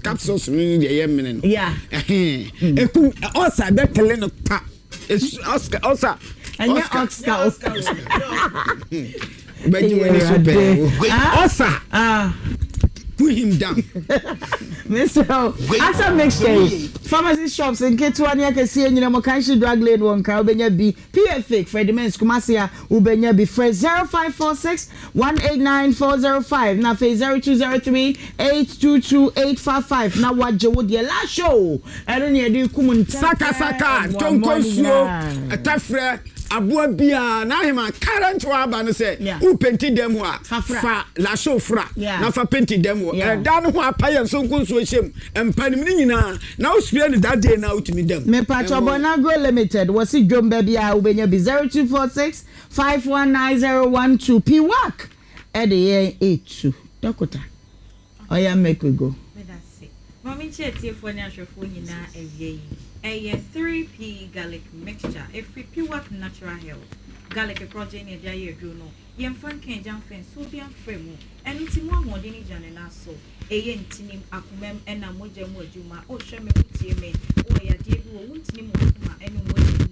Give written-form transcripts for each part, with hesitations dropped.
Capsules no ne deɛ yɛ mene no. Ɛkum ulcer bɛkele no pa. Oscar ulcer. Ɛnyɛ Oscar. Bɛgye w'ani so pɛɛ. Ulcer. Put him down. Mr. Asa mixture yi, pharmacy shops nketewa ne akɛseɛ nyina mu, Kanshi Drug Lane wɔ Nkran wobɛnya bi, PA Fake, Freddie Mens Kumasi a wobɛnya bi, frɛ 0546 189 405 na afei 0203 822 855 na woagye wo deɛ. Last show ɛno ne yɛde kum ntɛmfɛ Sakasaka, mmoamoa tonko no nsuo, nyinaa. Ɛtafrɛ, aboa biara n'ahema current wɔ aba no sɛ wo penti dɛm hɔ a, Fa fra. Fa lasho fra na fa penti dɛm hɔ. Ɛda no ho apa yɛ nsonko nsuo hyɛ mu mpa no mu ne nyinaa na wo spray no that day na wotumi dɛm. Mepatwɔ Bonagro Limited wɔsi dwom baabi a wobɛnya bi 0246 519012 Piwak ɛde yɛn etu dɔkota ɔyɛ make we go. Medase. Maame nkyɛn atiefoɔ ne ahwɛfoɔ nyinaa awia yi. Ɛyɛ 3P Garlic Mixture ɛfiri Piwak Natural Health. Garlic korɔgye ne ɛde ayɛ aduro no. Yɛmfa nka agya mfa nsuo bi amfrɛ mu. Ɛno nti mu ahoɔden no gyina ne nan so. Ɛyɛ ntinim, akomam ɛna mogya mu adwuma. Wohwɛ me, wotie me. Wowɔ yadeɛ bi wɔ wo ntinim, wɔ akoma ɛne mogya mu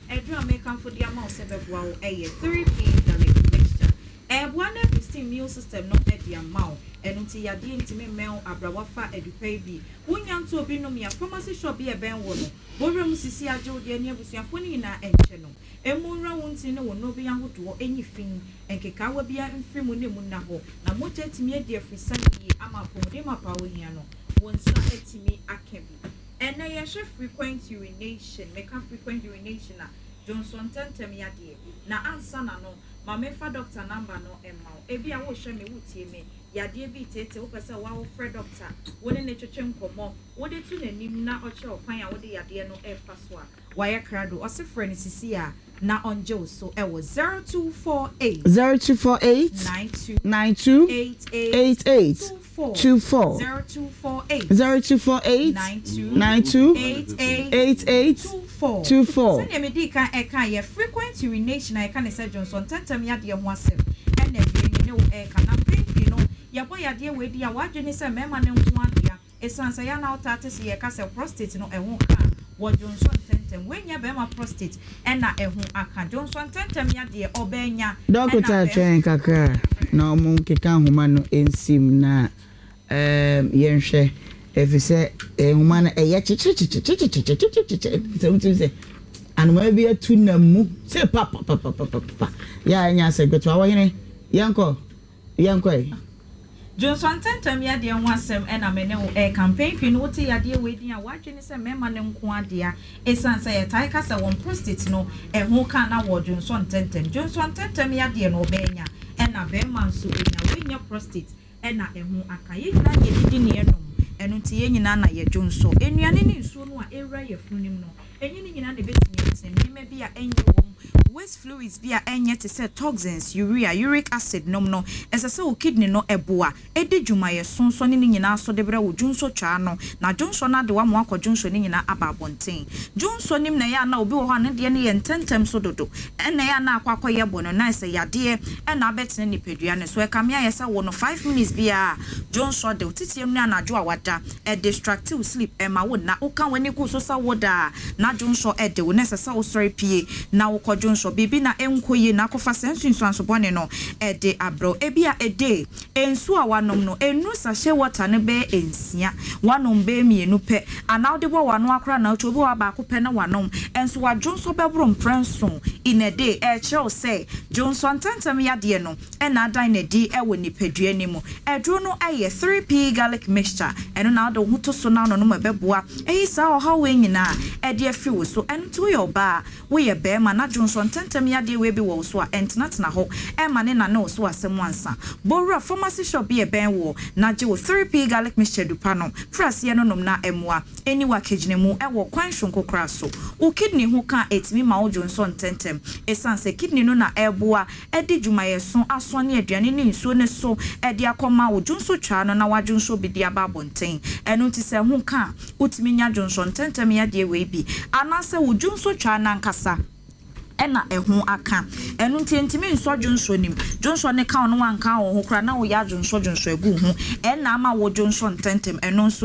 a, aduro a mekamfo de ama wo sɛ bɛboa wo ɛyɛ 3P Garlic Mixture. Ɛboa na boost immune system no ɛde ama wo. Ɛno nti yadeɛ ntumi mmɛn wo abrawa fa adupa yi bi. Wonya nto obi nom ya pharmacy shop bi a ɛbɛn wo no. Bɔwura mu sisi agye wo deɛ ne abusuafoɔ no nyinaa ɛnkyɛ no. Emu nwura wo ntini ne wo nnuro ahodoɔ enyi fi nkekaawa bi mfiri mu ne mu nna hɔ na mogya atumi adi afirisan yie ama apɔmuden mapa a wohia no wo nsa atumi aka bi. Ɛnɛ yɛhwɛ frequent urination. Meka frequent urination a, dwonsɔ ntɛntɛm yadeɛ. Na ansa na no, ma memfa doctor number no mma wo. Ebi a wohwɛ me, wotie me, yadeɛ bi tete wopɛ sɛ woa wofrɛ doctor, wo ne ne twetwe nkɔmmɔ, wode to n'anim na ɔkyerɛ ɔkwan a wode yadeɛ no ɛfa so a, wayɛ krado. Ɔse frɛ no sisi a na ɔngye wo so ɛwɔ 0248 0248 92 92 88 88 24 24 0248 0248 92 92 88 88 24. 24. Sɛdeɛ medi kan ɛka yɛ frequent urination a yɛka ne sɛ dwonsɔ ntɛntɛm yadeɛ ho asɛm ɛna awie me ne wo ɛka. Na mpɛn pii no yɛbɔ yadeɛ wei di a, wadwene sɛ mmarima no nko adea, ɛsiane sɛ yɛn a wotaa te sɛ yɛka sɛ prostate no ɛho ka wɔ dwonsɔ ntɛntɛm. Wei nyɛ bɛrima prostate ɛna ɛho aka. Dwonsɔ ntɛntɛm yadeɛ ɔbɛnya Dɔkota, twɛn kakra na ɔmo nkeka nhoma no nsim na yɛnhwɛ ɛfiri sɛ nhoma no ɛyɛ kyekyekyekyekyekyekyekyekye sɛ wotumi sɛ anoma bi atu nam mu sɛ papapapapapa yɛ a ɛnyɛ asɛ gbɛto awɔ hene. Yɛnkɔ, yɛnkɔ yi. Dwonsɔ ntɛntɛm yadeɛ ho asɛm ɛna me ne wo ɛka. Mpɛn pii no wote yadeɛ wei din a, wadwene sɛ mmarima no nko adea, ɛsiane sɛ yɛtae ka sɛ wɔn prostate no ɛho ka na wɔ dwonsɔ ntɛntɛm. Dwonsɔ ntɛntɛm yadeɛ no ɔbɛnya ɛna bɛrima nso ɛnya. Wei nyɛ prostate ɛna ɛho aka. Yɛn nyinaa na yɛdidi ne yɛnom, ɛno nti yɛn nyinaa na yɛdwonsɔ. Nnuane ne nsuo no a ɛwura yɛ funu no mu no, ɛnyɛ ne nyinaa na ɛbɛtumi atena. Nneɛma bi a ɛnyɛ wɔ mu, waste fluids bi a ɛnyɛ te sɛ toxins, urea, uric acid nom no, ɛsɛ sɛ wo kidney no ɛboa ɛdi dwumayɛ sonso ne ne nyinaa so de brɛ wo dwonsɔ twaa no na dwonsɔ no ade wama wakɔ dwonsɔ ne nyinaa aba abɔnten. Dwonsɔ nim na ɛyɛ a na obi wɔ hɔ a ne deɛ no yɛ ntɛntɛm so dodo ɛna ɛyɛ a na akɔ akɔyɛ bɔ no na ɛsɛ yadeɛ ɛna abɛtena nipadua no so. Ɛkame ayɛ sɛ wo no 5 minutes biara dwonsɔ de wo titie mu ne anadwo a wada ɛdistract wo sleep, ɛma wo na woka w'ani gu so sɛ wo daa na dwonsɔ ɛde wo na ɛsɛ sɛ wosɔre pie na wokɔ dwonsɔ. Biribi na ɛnkɔ yie na akɔfa sɛ nsunsuanso bɔne no ɛde abrɛw. Ebi a ɛde nsuo a wanom no enu sachet water no bɛyɛ nsia, wanom bɛyɛ mmienu pɛ anaa wode bɔ wano akora na wotwa obi wɔ baako pɛ na wanom ɛnso wadwonsɔ bɛboro mprɛnson in a day. Ɛkyerɛw sɛ dwonsɔ ntɛntɛm yadeɛ no ɛna adan n'adi ɛwɔ nipadua no mu. Ɛduro no ɛyɛ 3P Garlic Mixture. Ɛno na wode wo ho to so na anonom ɛbɛboa ɛyi saa ɔhaw wei nyinaa ɛde afiri wo so. Ɛno nti woyɛ ɔbaa, woyɛ bɛrima na dwonsɔ ntɛntɛm yadeɛ wei bi wɔ wo so a, ɛntenatena hɔ ɛma ne nane wo so asɛm ansa. Bɔwura pharmacy shop bi ɛbɛn wɔ na gye wo 3P Garlic Mixture dupa no firi aseɛ no nom na ɛmmoa ɛni wakegyina mu ɛwɔ kwan sonko koraa so. Wo kidney ho ka ɛtumi ma wo dwonsɔ ntɛntɛm, ɛsiane sɛ kidney no na ɛboa ɛde dwumayɛso asɔ ne aduane ne nsuo ne so ɛde akɔma wo dwonso twaa no na wadwonso bi de aba abɔnten. Ɛno nti sɛ ho ka a, wotumi nya dwonsɔ ntɛntɛm yadeɛ wei bi anaasɛ wo dwonso twaa nankasa ɛna ɛho aka. Ɛno nti ntumi nsɔ dwonsɔ nim. Dwonsɔ ne ka wo no wanka wo ho koraa na woyɛ adwonsɔ dwonsɔ agu ho ɛna ama wo dwonsɔ ntɛntɛm. Ɛno nso